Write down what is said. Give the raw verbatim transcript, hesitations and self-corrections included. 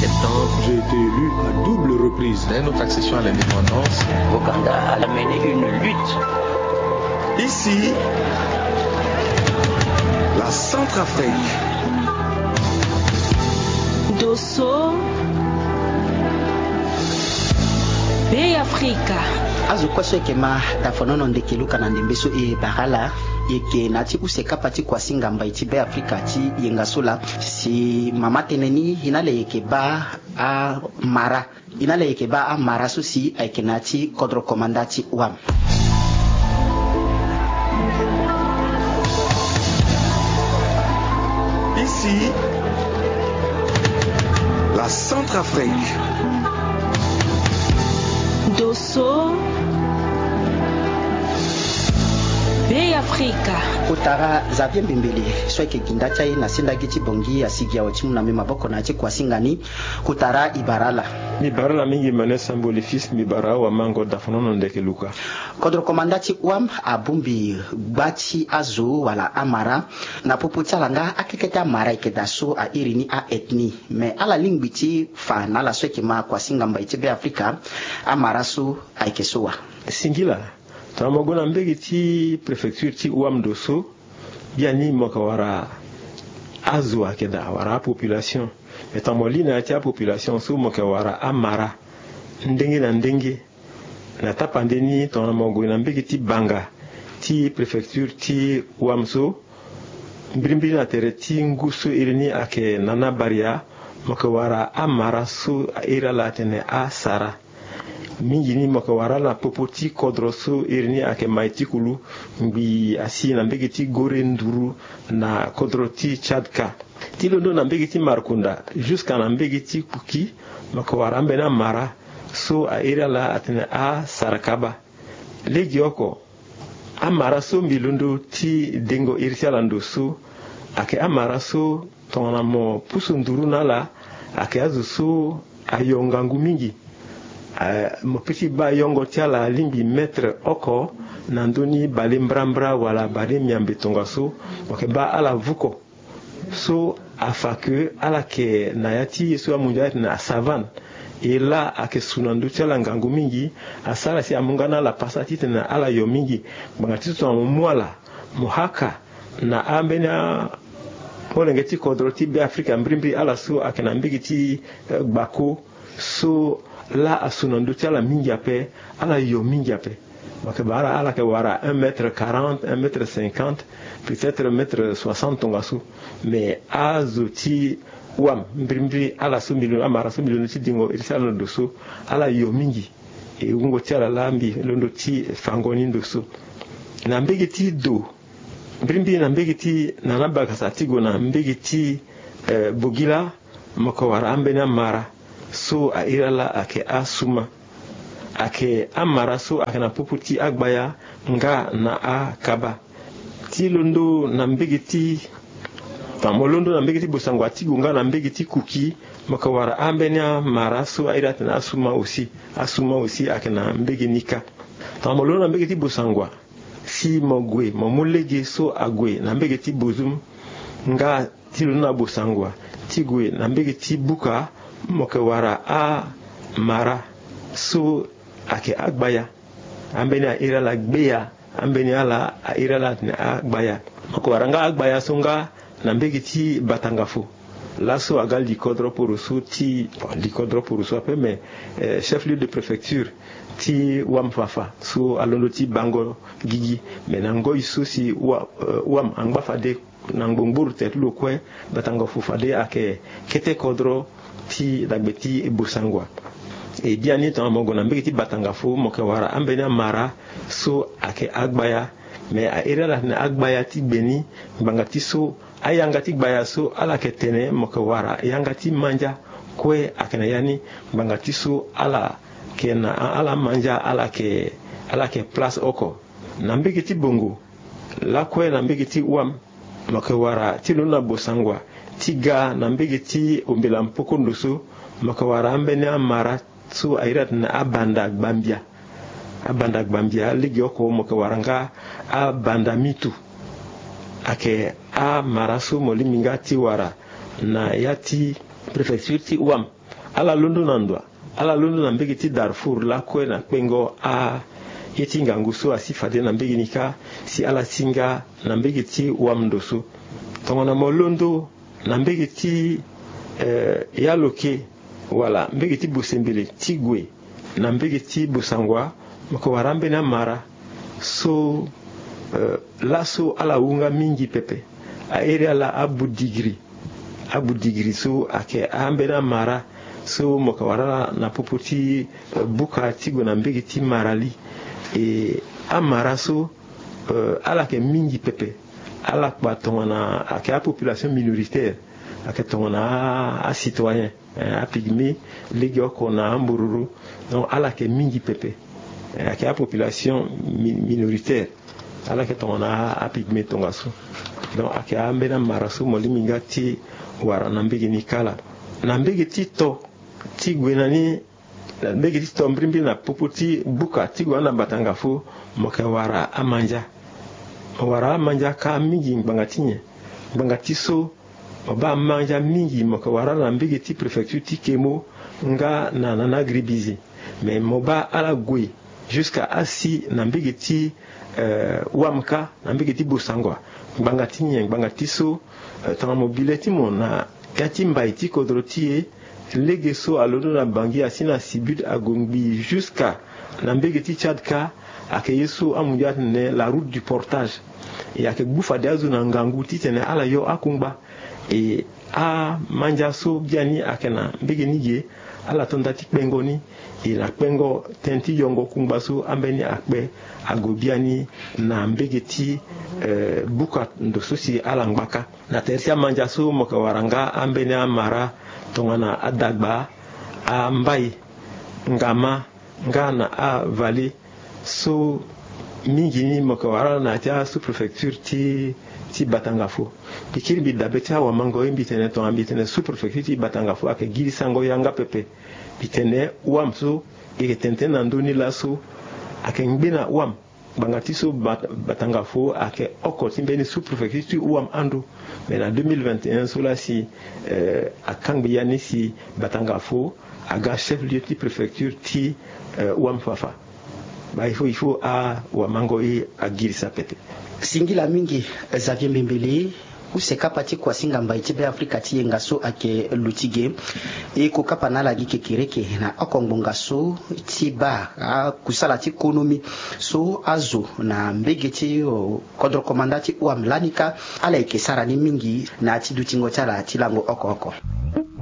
Septembre. J'ai été élu à double reprise. Dès notre accession à l'indépendance, Ouganda a mené une lutte. Ici, la Centrafrique. Dosso, Bey Afrika. Azo kue so eke ma dafonono ndeke luka na ndembe so e bara ala, eke na ti use kapa ti kuasinga mbai ti Bey Afrika ti yenga so laa. Si mama tene ni, e na le eke ba amara. E na le eke ba amara so si ayeke na ti kodro komanda ti wam. Ici, la Centrafrique. Dosso, Bey Afrika. Kotara Xavier Mbembele so ayeke ginda ti aye na sendagi ti Bangui asigi awe ti mu na mbi maboko na ya ti kuasinga ni. Kotara e bara ala. Mbi bara ala mingi, Emmanuel Sambo le fils, mbi bara awamango dafonono ndeke luka. Kodro komanda ti wam abongbi gba ti azo wala amara. Na popo ti ala nga akekete amara eke daa so a iri ni a-ethnie. Me ala lingbi ti fa na ala so eke ma kuasinga mbai ti Bey Afrika, amara so ayeke so wa. Singila, tongana mo gue na mbege ti préfecture ti wam ndo so, biani mo yeke wara azo ayeke daa wala apopulation. Me tongana mo li na ya ti apopulation so, mo yeke wara amara ndenge na ndenge. Na tapande ni, tongana mo gue na mbege ti banga ti préfecture ti wam so, mbirimbiri na tere ti ngu so iri ni ayeke Nana Baria, mo yeke wara amara so a iri ala atene asara. Mingi ni mo yeke wara ala na popo ti kodro so iri ni ayeke Maitikulu, ngbii asi na mbege ti Gore nduru na kodro ti Tchad ka. Ti londo na mbege ti Markunda jusqu'à na mbege ti Kuki, mo yeke wara ambeni amara so a iri ala atene asarakaba. Legeoko, amara so mbi londo ti dengo iri ti ala ndo so, ayeke amara so tongana mo pusu nduru na ala, ayeke azo so ayo ngangu mingi. Eh, mo peut ti baa yongo ti ala alingbi mètre oko na ndö ni bale mbrambra wala bale miambe tongaso, mo yeke baa ala vuko. So afa ke ala yeke na ya ti ye so amu ndia ti tene asavane. E laa ayeke su na ndö ti ala ngangu mingi, asara si amu nga na ala pasa titene ala yo mingi. Ngbanga ti so tongana mo mu ala, mo haka na ambeni amolenge ti kodro ti Bê Afrika mbirimbiri, ala so ayeke na mbege ti, eh, gbako, so laa asu na ndö ti ala mingi ape, ala yo mingi ape. Mo yeke baa ala, ala yeke wara un mètre quarante, un mètre cinquante, peut-être mètre soixante tongaso. Mais azo ti wam mbirimbiri, ala so mbi londo, amara so mbi londo ti dingo iri ti ala ndo so, ala yo mingi. E wungo ti ala laa mbi londo ti fango ni ndo so. Na mbege ti do, mbirimbiri na mbege ti Nana Bagasa ti gue na mbege ti, eh, Bogila, mo yeke wara ambeni amara so a iri ala ayeke asuma. Ayeke amara so ayeke na popo ti agbaya nga na akaba. Ti londo na mbege ti, enfin, mo londo na mbege ti Bosangwa ti gue nga na mbege ti Kuki, mo yeke wara ambeni amara so a iri atene asuma aussi. Asuma aussi ayeke na mbege ni kâ. Tongana mo londo na mbege ti Bosangwa, si mo gue, mo mu lege so ague na mbege ti Bozum nga ti londo na Bosangwa ti gue na mbege ti Buka, mo yeke wara amara so ayeke agbaya. Ambeni a iri ala gbeya, ambeni ala a iri ala atene agbaya. Mo yeke wara nga agbaya so nga na mbege ti Batangafo. Laso aga likodro poroso ti, bon, likodro poroso ape, mais, eh, chef-lieu de préfecture ti Wam Fafa so alondo ti bango gigi. Mais na ngoi so si wa, eh, Wam angba fade na ngbongboro tere ti lo kue, Batangafo fade ayeke kete kodro ti dagbe ti Bosangwa. E biani tongana mo gue na mbege ti Batangafo, mo yeke wara ambeni amara so ayeke agbaya. Mais a iri ala atene agbaya ti gbe ni, ngbanga ti so ayanga ti gbaya so ala yeke tene mo yeke wara yanga ti mandia kue ayeke na ya ni. Ngbanga ti so ala yeke na ala mandia, ala yeke, ala yeke place oko. Na mbege ti Bongo lakue na mbege ti Wam, mo yeke wara ti londo na Bosangwa ti ga na mbege ti Ombela Mpoko ndo so, mo yeke wara ambeni amara so a iri atene abanda gbambia. Abanda gbambia legeoko mo yeke wara nga abanda mitu. Ayeke amara so mo lingbi nga ti wara na ya ti préfecture ti Wam. ala londo na ndo, ala londo na mbege ti Darfour lakue na kpengo aye ti ngangu so asi fade na mbege ni kâ, si ala si nga na mbege ti wam ndo so. Tongana mo londo na mbege ti, eh, Yaloke, wala mbege ti Bosembele ti gue na mbege ti Bossangoa, mo yeke wara ambeni amara so, eh, laso ala wu nga mingi pepe. Airi ala abudigri. Abudigri so ayeke ambeni amara so mo yeke wara ala na popo ti, eh, buka ti gue na mbege ti Marali. E amara so, eh, ala yeke mingi pepe. Ala kpa tongana ayeke apopulation minoritaire, ayeke tongana a, acitoyen, eh, apygmée, legeoko na ambororo. Donc ala yeke mingi pepe. Eh, ayeke apopulation mi-, minoritaire. Ala yeke tongana apygmée tongaso. Donc ayeke ambeni amara so mo lingbi nga ti wara na mbege ni kala. Na mbege ti to ti gue na ni, na mbege ti to mbirimbiri na popo ti buka ti gue na Batangafo, mo yeke wara amandia. Mo wara amandia kâ mingi ngbanga ti nyen? Ngbanga ti so mo baa amandia mingi mo yeke wara ala na mbege ti préfecture ti Kemo nga na, na, na Gribizi. Mais mo baa ala gue jusqu'à asi na mbege ti, eh, wam kâ, na mbege ti Bossangoa. Ngbanga ti nyen? Ngbanga ti so, eh, tongana mo bi le ti mo na ya ti mbai ti kodro ti e, lege so alondo na Bangui asi na Sibut ague ngbii jusqu'à na mbege ti Tchad kâ, ayeke ye so amu ndia atene la route du portage. E ayeke gbu fade azo na ngangu titene ala yo akungba. E amandia so biani ayeke na mbege ni ge, ala to nda ti kpengo ni. E na kpengo tënë ti yongo kungba so ambeni akpe ague biani na mbege ti, eh, buka ndo so si ala ngba kâ. Na tere ti amandia so mo yeke wara nga ambeni amara tongana adagba, ambai, ngama, nga na avallée so mingi ni mo yeke wara ala na ya ti asous-préfecture ti, ti Batangafo. Mbi kiri mbi dabe ti awamango ye mbi tene tongana mbi tene sous-préfecture ti Batangafo ayeke girisango yanga pepe. Mbi tene wam so e yeke tene tënë na ndö ni laso ayeke ngbene wam. Ngbanga ti so Bat-, Batangafo ayeke oko ti mbeni sous-préfecture ti wam ando. Mais na deux mille vingt et un so la si, eh, akangbi ya ni si Batangafo aga chef-lieu ti préfecture ti, eh, wam fafa. Baa il faut, il faut awamango e agirisa pepe. Singila mingi, Xavier Mbembele. Use kapa ti kuasinga mbai ti Beafrika ti yenga so ayeke luti ge. E ko kapa na ala gi kekereke na oko ngbonga so ti baa akusala ti konomi so azo na mbege ti, o, kodro komanda ti wam lani kâ, ala yeke sara ni mingi na ya ti dutingo ti ala ti lango oko oko.